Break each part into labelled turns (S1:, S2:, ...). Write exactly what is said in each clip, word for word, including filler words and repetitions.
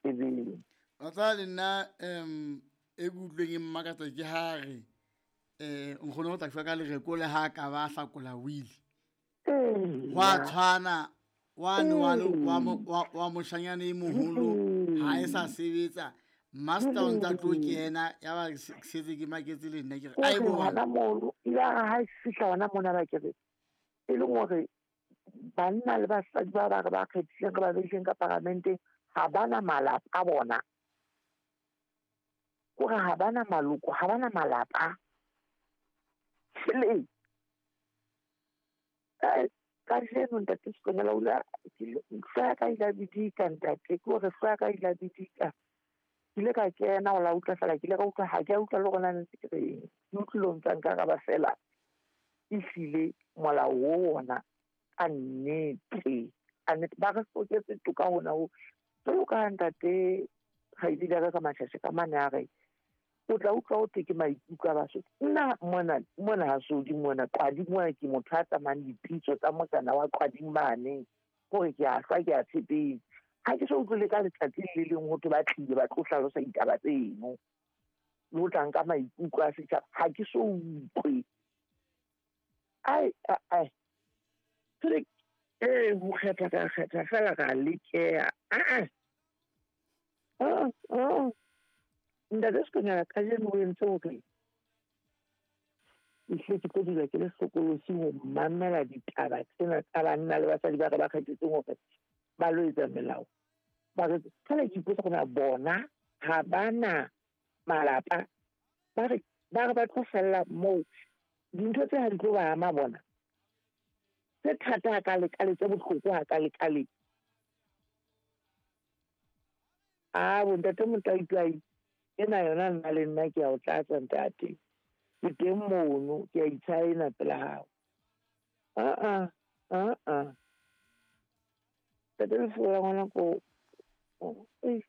S1: tsebeng.
S2: Wa tseba le nna um e ke utlweng e mmakatsa ke ha re um nkgono o tla shwa ka lereko le ha ka ba hlakola wili. Hwa tshwana wane wane wa wa moshanyana e moholo ha e sa sebetsa. Master o ntsa tlo kena ya ba setse ke maketse le nna ke re ai bo
S1: hona mono ile ha e fihla hona mona ba ke re e leng hore banna le basadi ba ba re ba kgethileng re ba beileng ka paramenteng ha bana malapa a bona, kore ha bana maloko, ha bana malapa. Tjhelete kajeno ntate Sekonyela o ile hlooho ya ka ile bidika ntate, ke hore hlooho ya ka ile bidika. Ke ile ka kena ho la utlwa fela, ke ile ka utlwa ha ke a utlwa le hore na ntse ke reng. Ke utlwile o ntsa nkaraba fela ehlile molao o ona ka nnete, ka nnete ba re hloketse toka hona ho. Jwalo ka ntate kgaitsedi ya ka ka Mashashe ka mane a re o tla utlwa ho thwe ke maikutlo a Basotho. Nna mona mona ha Sodi mona Qwading mona ke motho a tsamayang dipitso tsa motsana wa Qwading mane, hore ke a hlwa ke a tshepetse. Ha ke so utlwele ka letsatsi le leng ho thwe ba tlile ba tlo hlalosa ditaba tseno le ho tla nka maikutlo a setjhaba, ha ke so utlwe. Ai ai tsele eh ho kgetha ka kgetha fela ka lekeha. Ah ah ah ntate Sekonyela kajeno o entse hore ehlile ke tlo dula ke le hlokolosi ho mamela ditaba tsena tsa banna le basadi ba re ba kgethetseng hore ba lo etsa melao. Ba re fela ke ipotsa hore na bona ha bana malapa, ba re ba re ba tlo fella moo. Dintho tse ha di tlo ba ama bona tse thata hakalekale, tse bohloko hakalekale. Ah bo ntate Motlaitwai ena yona nna le nna ke a o tlatsa ntate, ke teng mono ke a itshaena pela hao. Ah ah ah ah ntate lefu la ngwana ko ke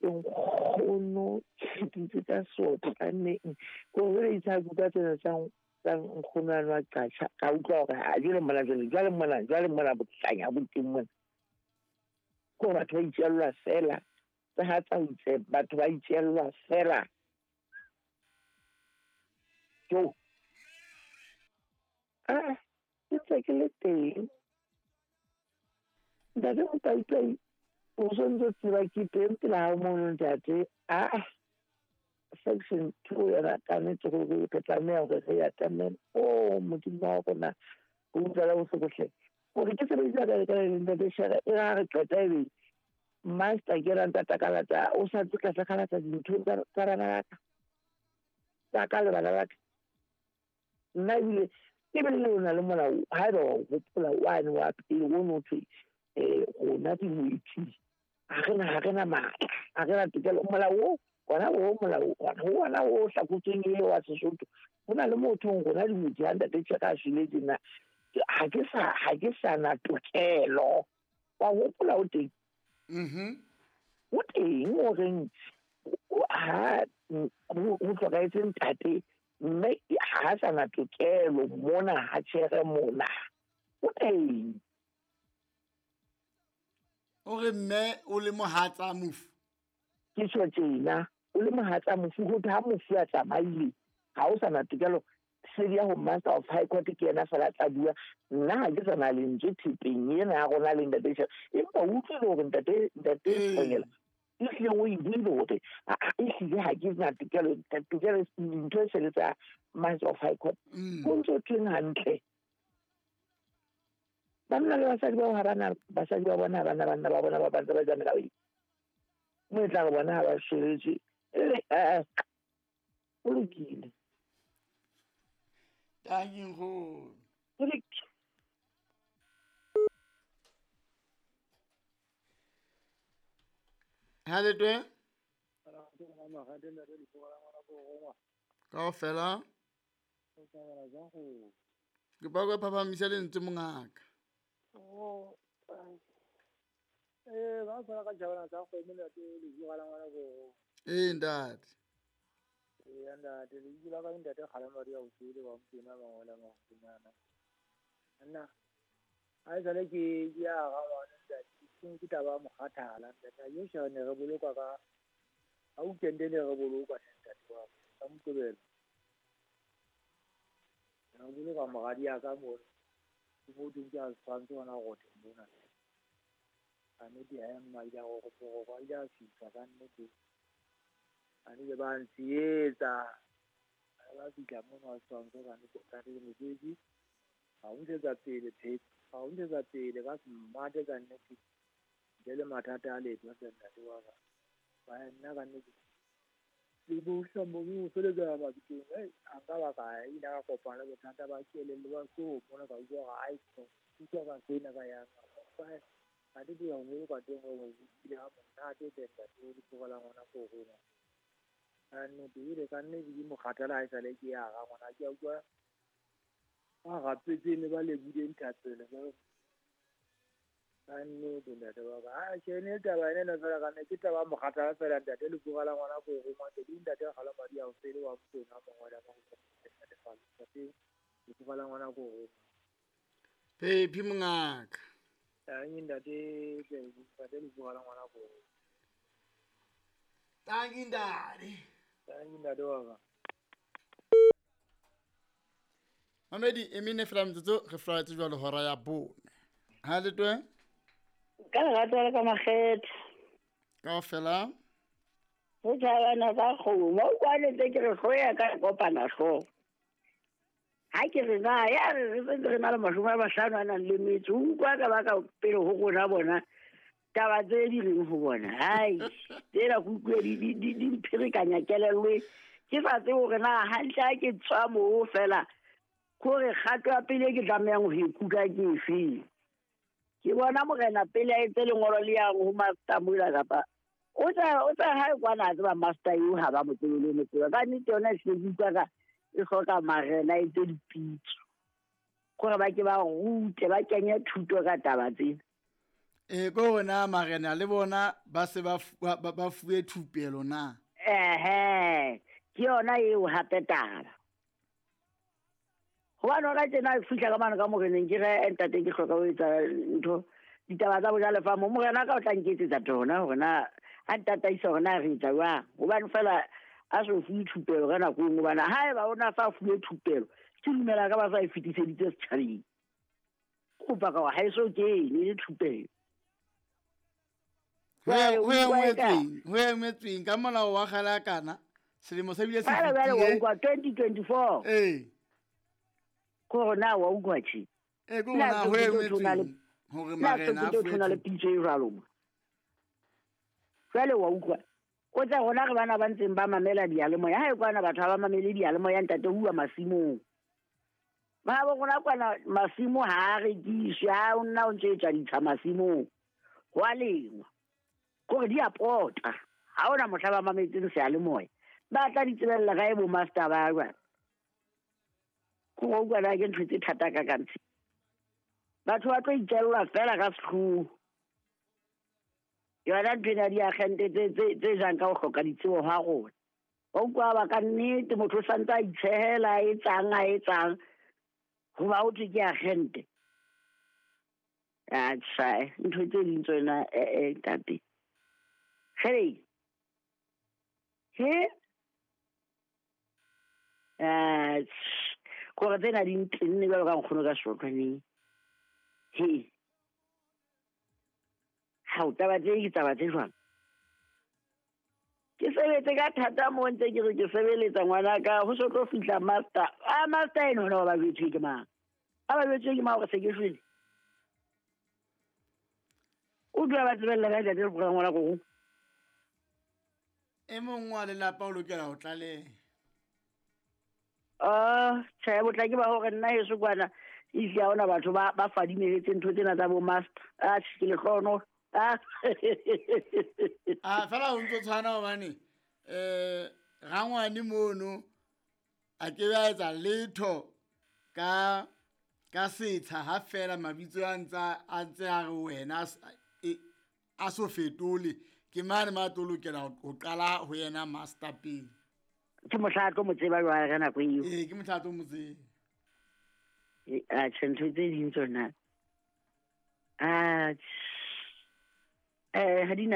S1: nkgono ke dintse tsa sotlaneng ko re itsa kuka tsena tsa tsa nkgono a nwa qatjha ka utlwa hore ha jwale mona jwale jwale mona jwale mona bohlanya bo teng mona. Ko batho ba itjellwa fela tsa ha tsa itse batho ba itjellwa fela. Jo ah ke ntse ke le teng ntate Motlaitwai o sontso tseba ke teng pela hao mono ntate. Ah section two yona ka nnete hore re tlameha hore re atamele. Oh Modimo wa rona o utlwela bohloko hle. Hore ke sebedisa ka ka ntate Shere e ra re qeta ebe master ke ra ntata kalata o sa tlo tla kalata dintho tsa bana ba ka tsa ka le bana ba ka. Nna ebile ke be le lona le molao haeba wa hopola wane wa pele o no thwe eh rona dingwetsi ha re na ha re na matla, ha re na tokelo. Molao o ona o molao ona ona o hlakotsweng e wa Sesotho ho na le motho rona dingwetsi ha ntate Tjheka a shwele tjena ha ke sa ha ke sa na tokelo. Wa hopola o teng?
S2: Mhm
S1: o teng o reng ha ho hlokahetse ntate mme ha sa na tokelo mona ha tjhere mona o teng.
S2: O re mme o le mohatsa mofu.
S1: Ke tjho tjena o le mohatsa mofu ho ha mofu a tsamaile ha o sa na tokelo. Sedi ya ho Master of High Court ke yena fela tla bua. Nna ha ke sa na lentswe thepeng ena ya rona le ntate Shere, empa o utlwile hore ntate ntate Sekonyela ehlile o e buile hore ehlile ha ke na tokelo tokelo dintho e sele tsa Master of High Court. Ho ntso thweng hantle banna le basadi bao ha bana basadi ba bona ha bana banna ba bona ba bantse ba etsa melao e mo e tla re bona ha ba shweletswe eh o lokile.
S2: Tanki nkgono. Ha le twe? Kaofela. Ke ba go phaphamisa lentswe mongaka.
S3: Oh eh ba tshwara ka jabana tsa kgomo ntate lefu la ngwana ko.
S2: Eh ntate.
S3: Eh ntate lefu la ka ntate kgalema di a utlwile ba mpina ba ngola ba mpina. Nna ha e sale ke ke ya ga ngwana ntate Ke taba ya mokgathala ntate. Yo shebe ne re bolokwa ka ha weekend ne re bolokwa ntate wa ka. Ka Moqebelo. Re boloka moradi ya ka mo. Ke mo teng ke a tshwantse hona rote mona. Ka nnete ha mma ile a go ile a fihla ka nnete. A ne ba ntsietsa. Ba fihla mono a tshwantse ka nnete ka nnete mosebetsi. Ha o ntshetsa pele phephi. Ha o ntshetsa pele ka smart ka nnete. Ntle le mathata a letho ntate wa ka. Ba nna ka nnete. Le bohla mo o feletsa mabitleng. Ei, a nka ba ka ile ka kopana le bothata ba kelello ba so mona ka utlwa hore ai utlwa ka sena ka yang. Ha di bua mo ka teng o ile ha monate teng ntate o tloga la ngwana ko rona. A nnete ile ka nnete ke mokgathala ha e sale ke ya ga ngwana ke a utlwa ba rapetse ne ba lebile nthapelo ba ka nnete ntate wa ka. A tjhe ne taba ena fela ka nne ke taba mokgathala fela ntate le tloga la ngwana ko rona ntate ntate ga la madi a o fele wa motona mongwe wa mo ntate fa ntate le tloga la ngwana ko rona.
S2: Phephi mongaka.
S3: Tangi ntate ntate le tloga la ngwana ko rona.
S2: Tangi ntate.
S3: Tangi ntate wa ka.
S2: Mamedi e mene fela metsotso re flaetse jwalo hora ya bone. Ha le twe?
S4: Ka lerato la ka makgethe.
S2: Kaofela.
S4: Ho tjhabana ka kgomo, o kwanetse ke re hloya ka kopana hlooho. Ha ke re na ya re re sentse re na le mashome a mahlano a nang le metso, o utlwa ka ba ka pele ho rona bona taba tse di reng ho bona. Hai, tsena ke utlwe di di di di mpherekanya kelello. Ke sa tsebe hore na hantle ha ke tswa moo fela kore kgato ya pele ke tlamehang ho ikutlwa ke efeng. Ke bona morena pele a etse lengolo le yang ho master mola kapa o tla o tla hae kwana a tseba master eo ha ba mo tsebe le mo tseba. Ka nnete yona e se ke utlwa ka e hloka marena a etse dipitso gore ba ke ba rute ba kenye thuto ka taba tsena.
S2: E ko rona marena le bona ba se ba ba fuwe thupelo na.
S4: Ehe, ke yona eo hape taba. Hobane hona tjena fihla ka mane ka moreneng ke re ntate ke hloka ho etsa ntho ditaba tsa bojalefa mo morena ka o tla nketsetsa tsona hore na a ntataisa hore na re etsa jwang. Hobane fela a so fuwe thupelo ka nako e nngwe hobane haeba o na sa fuwe thupelo ke dumela ka ba sa e fetiseditse setjhabeng. Kopa ka ha e so kene le thupelo.
S2: Ho engwetsweng, ho engwetsweng ka molao wa kgale a kana selemo se bile se
S4: fetile. Jwale wa utlwa twenty twenty-four.
S2: Eh.
S4: Ko na wa utlwa tjhe.
S2: Eh ko na ho engwetsweng hore marena a fuwe
S4: le pitso e jwalo mo. Jwale wa utlwa. O tsa rona re bana ba ntseng ba mamela diyalemoya. Ha e kwana batho ha ba mamele diyalemoya ntate huwa masimong. Ba bo rona kwana masimo ha a rekiswe, ha o nna o ntse etsa ditsha masimong. Ho a lengwa. Kore di a pota. Ha ona mohla ba mametseng seyalemoya. Ba tla di tsebella kae bo master ba jwale. Ko utlwa na ke ntho tse thata ka kantsi. Batho ba tlo itjella fela ka sehloho. Yona ntho ena diagente tse tse tse jang ka ho hloka ditsebo ha rona. Wa utlwa ba ka nnete motho o santse a itshehela a etsang a etsang hoba ho thwe ke agente. Atjhe, ntho tse ding tsona eh eh ntate. Hey. He? Eh, kore tsena di ntenne jwalo ka nkgono ka serotlwaneng. He. Ha o taba tse ke taba tse jwang? Ke sebetse ka thata mo ntse ke re ke sebeletsa ngwana ka ho so tlo fihla master. Ah master eno hona ba jwetswe ke mang? A ba jwetswe ke mang hore se ke shwele? O dula ba tsebella ka ntate le ngwana go.
S2: E mong wa lelapa o lokela ho tlaleha.
S4: Ah, tjhe botla ke ba hore nna heso kwana isi ha ona batho ba ba fadimehetse ntho tsena tsa bo master. Ah, ke lehlono. Ah.
S2: Ah, fela o ntso tshwana hobane eh rangwane mono a ke ba etsa letho ka ka setsha ha fela mabitso a ntsa a ntse a re wena a so fetole ke mane ma tlo lokela ho qala ho yena master pele.
S4: Ke mohla tlo mo tseba jwale ka nako eo.
S2: Eh ke mohla tlo mo tseba.
S4: Eh a tjhe ntho tse ding tsona. Ah Eh, ha di na